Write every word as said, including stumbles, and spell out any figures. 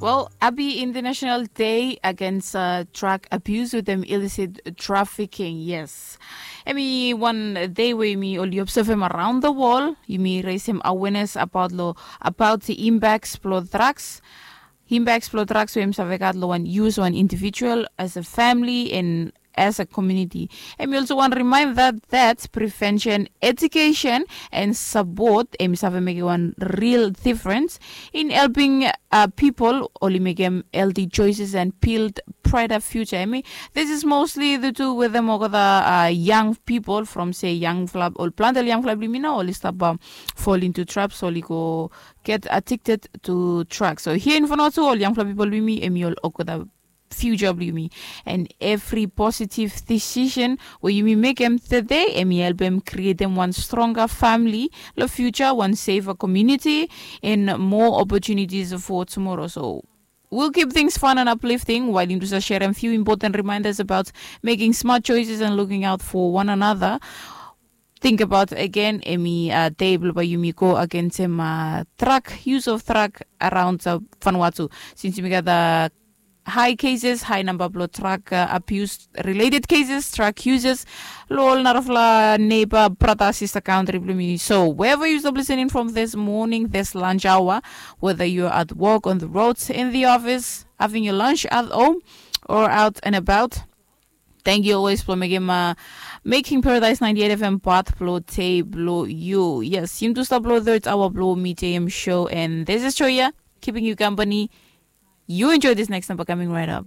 Well, happy International Day Against uh, Drug Abuse with them illicit trafficking. Yes. Emi wan day we mi oli observe him around the world. Yumi raise him awareness about lo about the impacts blo drugs. Impacts blo drugs we him save gat lo wan use one individual as a family and as a community. And we also want to remind that that prevention, education, and support em save make one real difference in helping uh, people only make them healthy choices and build brighter future. I mean, this is mostly the two with them or the uh, young people from say young flab or plantel young flab limina only stop um, fall into traps only go get addicted to drugs. So here in Vanuatu, all young flab people with me, emi all okada future blue me and every positive decision where you may make them today and me help them create them one stronger family, the future one safer community and more opportunities for tomorrow. So we'll keep things fun and uplifting while you share a few important reminders about making smart choices and looking out for one another. Think about again emi uh, table by yumi go against him uh, truck use of truck around uh, Vanuatu since yumi gat the high cases, high number blo drug uh, abuse related cases, drug users, lo all narafla neighbor, brother, sister country blo me. So wherever you stop listening from this morning, this lunch hour, whether you're at work, on the roads, in the office, having your lunch at home, or out and about, thank you always blo mekim uh, making Paradise ninety-eight F M part blo day blo you. Yes, yim tu stop blo third hour blo me J M show, and this is Choya keeping you company. You enjoy this next number coming right up.